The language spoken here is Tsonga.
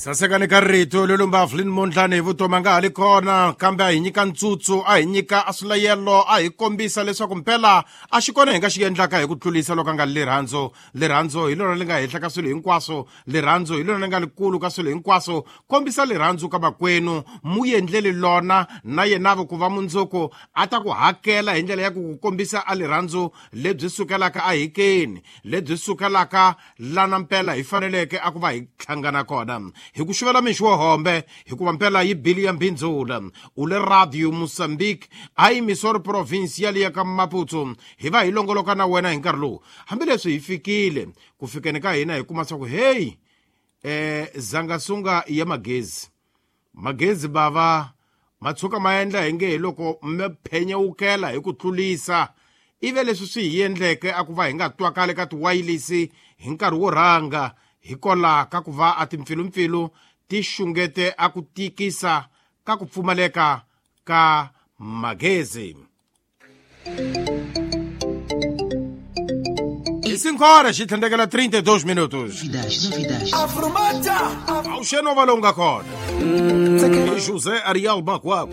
Sasekani ka rito lolumba Evelyn Mondlane hi vutomi a nga ha li kona, kambe a hi nyika ntsutsu, a hi nyika a swilayelo, a hi kombisa leswaku mpela a xi kona hi nga xi endlaka hi ku tlulisa loko a nga li rirhandzu. Rirhandzu hi lona li nga henhla ka swilo hinkwaswo, rirhandzu hi lona li nga likulu ka swilo hinkwaswo. Kombisa rirhandzu ka makwenu, mu endleli lona na yenavo ku va mundzuku a ta ku hakela hi ndlela ya ku ku kombisa a rirhandzu lebyi sukelaka a hikeni, lebyi sukelaka lana mpela hi faneleke a ku va hi hlangana kona. Hi ku xuvela mixo wo hombe, hikuva mpela yi bili ya mbindzula. U le Radio Mozambique, a yi Missouri province ya liya ka Maputo. Hi va hi longoloka na wena hi nkarhi lowu. Hambileswi hi fikile, ku fikeni ka hina hi kuma swa ku hey, zangasunga ya magezi. Magezi bava ma tshuka ma endla hi nge hi loko mi phenyewukela hi ku tlulisa. Ive leswi swi hi endleke a ku va hi nga twakali ka tiwayilisi hi nkarhi wo rhanga, hikola ka ku va a timpfilumpfilu ti xungete a ku tikisa ka ku pfumaleka ka magezi. I 5 horas xi tlhandlekela 32 minutos. Novidades, novidades. Awuxeni wa va lowu nga kona. I José Ariel Makwakwa.